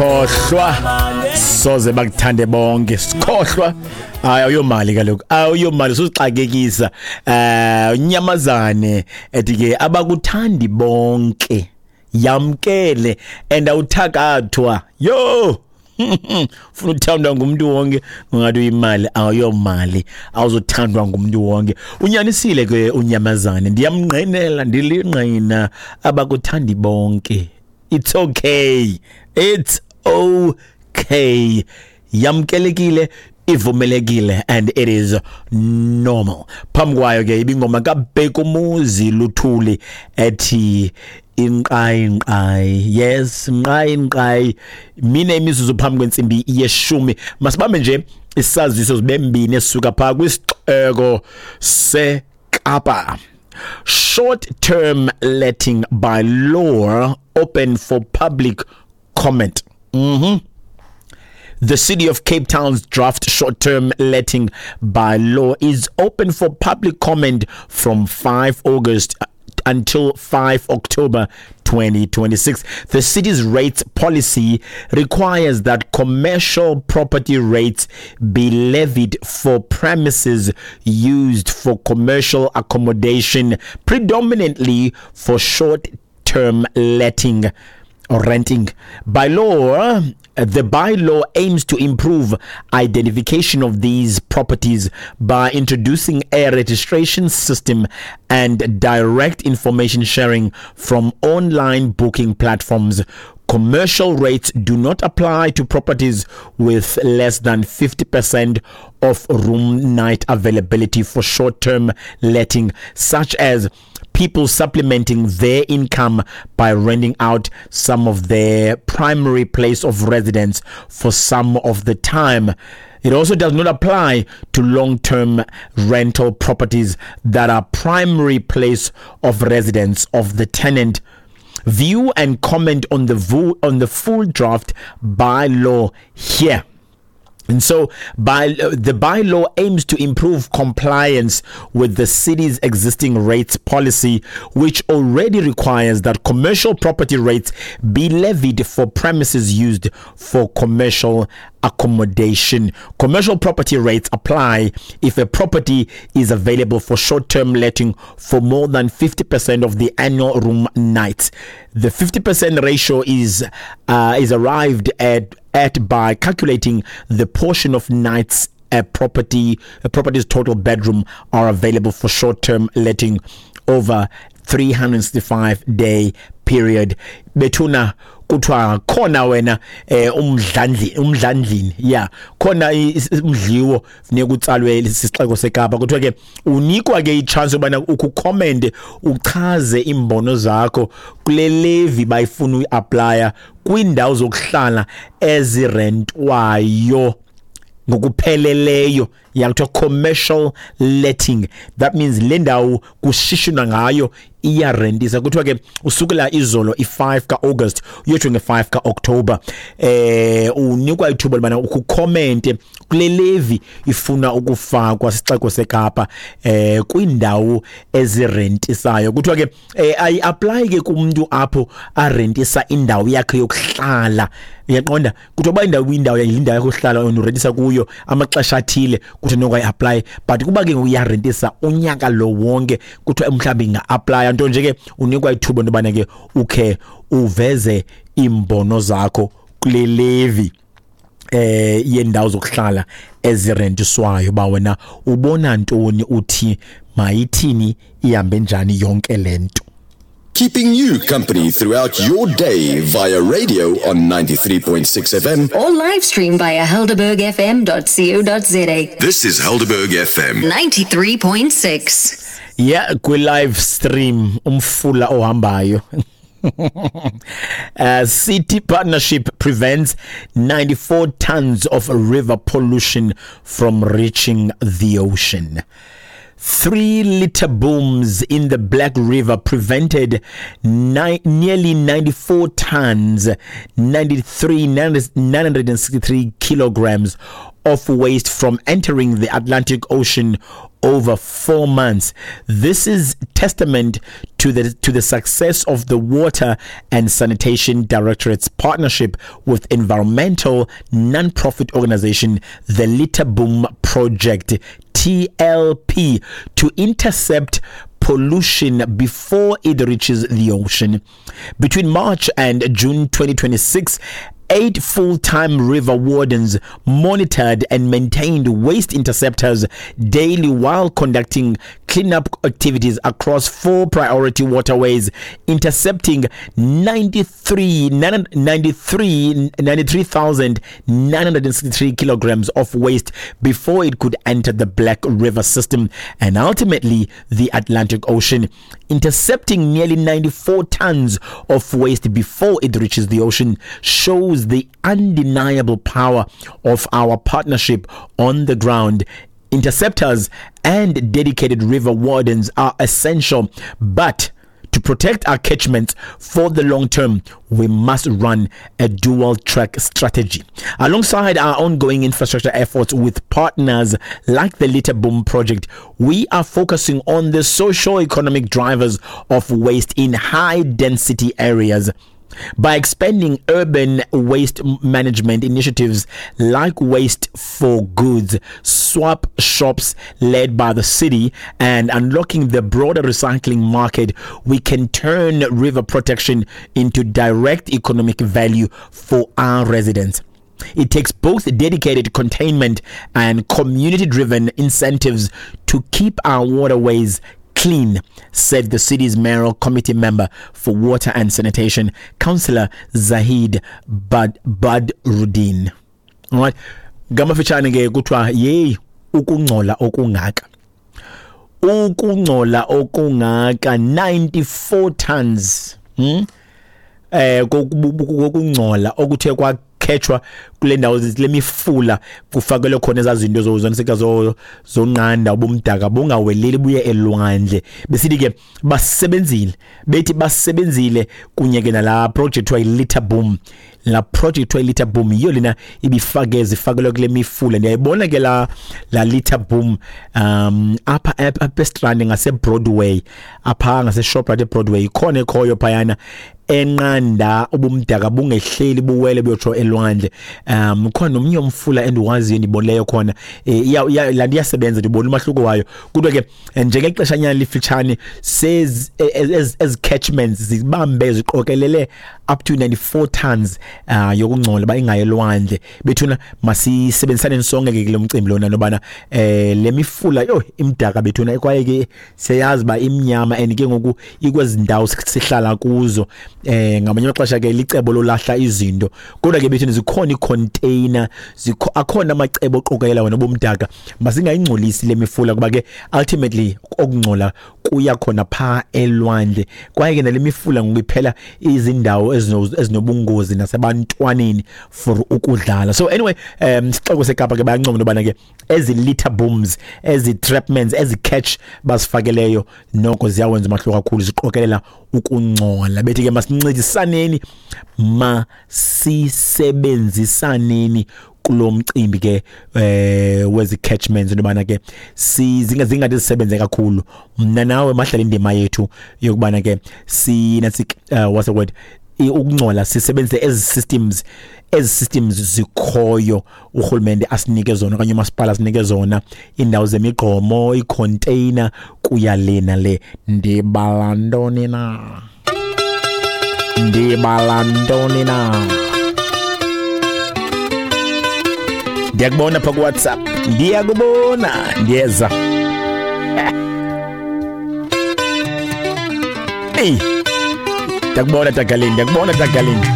Khohlwa, soze bakuthande bonke, sikhohlwa. Hayi, awuyomali kaloku, awuyomali, suzixakekisa. Unyamazane ethi ke abakuthandi bonke, yamkele and awuthakathwa. Yo, ufuna uthandwa ngumuntu wonke, ungathi uyimali, awuyomali, awuzothandwa ngumuntu wonke. Unyanisile ke unyamazane, ndiyamngqinela, ndilingqina, abakuthandi bonke. It's okay, it's okay, yamkelekile, ivumelekile and it is normal. Phambi kwayo ke ibingoma kaBhekumuzi Luthuli ethi inqayi nqayi. Yes, nqayi nqayi. Mine imizuzu phambi kwentsimbi yeshumi. Masibambe nje isaziso zibe mbini esisuka phaa kwisixeko seKapa. Short term letting by law open for public comment. The City of Cape Town's draft short-term letting by law is open for public comment from 5 August until 5 October 2026. The city's rates policy requires that commercial property rates be levied for premises used for commercial accommodation, predominantly for short-term letting or renting. By law, the bylaw aims to improve identification of these properties by introducing a registration system and direct information sharing from online booking platforms. Commercial rates do not apply to properties with less than 50% of room night availability for short term letting, such as people supplementing their income by renting out some of their primary place of residence for some of the time. It also does not apply to long term rental properties that are primary place of residence of the tenant. View and comment on the full draft bylaw here. And so the bylaw aims to improve compliance with the city's existing rates policy, which already requires that commercial property rates be levied for premises used for commercial accommodation. Commercial property rates apply if a property is available for short-term letting for more than 50% of the annual room nights. The 50% ratio is arrived at by calculating the portion of nights a property's total bedroom are available for short-term letting over 365 day period. Bethuna, kuthiwa khona wena umdlandli, umdlandlini yeah, khona umdliwo funeka utsalwe sisixeko seKapa. Kuthiwa ke unikwa ke ichance yobana ukhu-comment, uchaze imbono zakho kule levy bayifuna uyiapplya kwiindawo zokuhlala ezirentwayo ngokupheleleyo, yakuthiwa commercial letting. That means le ndawo kushishina ngayo iyarentisa. Kuthiwa ke usukela izolo i-5 ka-August uyotsho nge-5 ka-October, unikwa ithuba lobana ukhu-commente kule levy ifuna ukufakwa sixeko seKapa kwiindawo ezirentisayo. Kuthiwa ke ayi-apply ke kumntu apho arentisa indawo yakhe yokuhlala, uyaqonda? Kuthiwa uba indawo yakho yokuhlala wena urentisa kuyo amaxesha athile, kuthiwa noko ayi-apply, but kuba ke ngoku iyarentisa unyaka lo wonke, kuthiwa mhlawumbi inga-applya nto nje. Ke unikwa ithuba into yobana ke ukhe uveze iimbono zakho kule levy yendawo zokuhlala ezirentiswayo, ba wena ubona ntoni, uthi mayithini, ihambe njani yonke lento. Keeping you company throughout your day via radio on 93.6 FM. Or live stream via helderbergfm.co.za. This is Helderberg FM. 93.6. Yeah, kwi live stream, umfula ohambayo. City partnership prevents 94 tons of river pollution from reaching the ocean. Three litter booms in the Black River prevented nearly 94 tons, 93, 963 kilograms of waste from entering the Atlantic Ocean over 4 months. This is testament to the success of the Water and Sanitation Directorate's partnership with environmental non-profit organization the Litter Boom Project, TLP, to intercept pollution before it reaches the ocean. Between March and June 2026, eight full-time river wardens monitored and maintained waste interceptors daily while conducting cleanup activities across four priority waterways, intercepting 93 93 93,963 kilograms of waste before it could enter the Black River system and ultimately the Atlantic Ocean. Intercepting nearly 94 tons of waste before it reaches the ocean shows the undeniable power of our partnership on the ground. Interceptors and dedicated river wardens are essential, but to protect our catchments for the long term, we must run a dual track strategy. Alongside our ongoing infrastructure efforts with partners like the Litter Boom Project, we are focusing on the socio economic drivers of waste in high density areas. By expanding urban waste management initiatives like Waste for Goods, swap shops led by the city, and unlocking the broader recycling market, we can turn river protection into direct economic value for our residents. It takes both dedicated containment and community driven incentives to keep our waterways clean, said the city's mayoral committee member for water and sanitation, Councillor Zahid Badruddin. All right. Ngamafitshane ke kuthiwa yeyi, ukungcola okungaka. Ukungcola okungaka, 94 tons. Kokungcola okuthe kwakhetshwa kule ndawo le mifula kufakelwe khona ezazinto zoniseka zonqanda ubumdaka bungaweleli buye elwandle. Besithi ke basebenzile, bethi basebenzile kunye ke nala project kuthiwa i-litter boom. La project kuthiwa i-litter boom yiyo lena ibifake zifakelwe kule mifula. Ndiyayibona ke la litter boom apha eStrand ngase Broadway, apha ngase Shoprite eBroadway, ikhona ekhoyo phayana enqanda ubumdaka bungehleli buwele buyotsho elwandle. Khona nomnye umfula endiwaziyo endibonileyo khona, iya la iyasebenza, ndibona umahluko wayo. Kodwa ke njengexeshanyana lifitshane sezi ezi catchments zibambe ziqokelele up to 94 tons yokungcola ba ingaye elwandle. Bethuna, masisebenzisane sonke ke kule mcimbi lona nobana le mifula yo imdaka bethuna, kwaye ke siyayazi ba imnyama and ke ngoku ikwezi ndawo sihlala kuzo. Ngamanye amaxesha ke licebo lolahla izinto, kodwa ke bethuna zikhona icontainer, zikho akhona amacebo oqokelela wena bomdaka. Masingayingcolisi le mifula kuba ke ultimately okungcola kuya khona pha elwandle, kwaye ke nale mifula ngoku iphela izindawo ezinobungozi nasebantwaneni for ukudlala. So anyway, sixeko seKapa ke bayancoma into yobana ke ezi litter booms, ezi trapments, ezi catch basifakeleyo noko ziyawenza umahluko kakhulu, ziqokelela ukungcola. Bethi ke masincedisaneni, masisebenzisaneni kulo mcimbi ke wezi catchments into yobana ke zingathi zisebenze kakhulu. Mna nawe mahlala indima yethu yokubana ke si what's the word, ukungcola sisebenzise ezi systems zikhoyo urhulumente asinike zona okanye umasipala asinike zona, iindawo zemigqomo, iicontainer, kuya le nale. Ndibala ntoni na? Ndibala ntoni na? Ndiyakubona pha kuWhatsApp, ndiyakubona, ndiyeza. Eyi, ndiyakubona Tagaleni, ndiyakubona Tagaleni.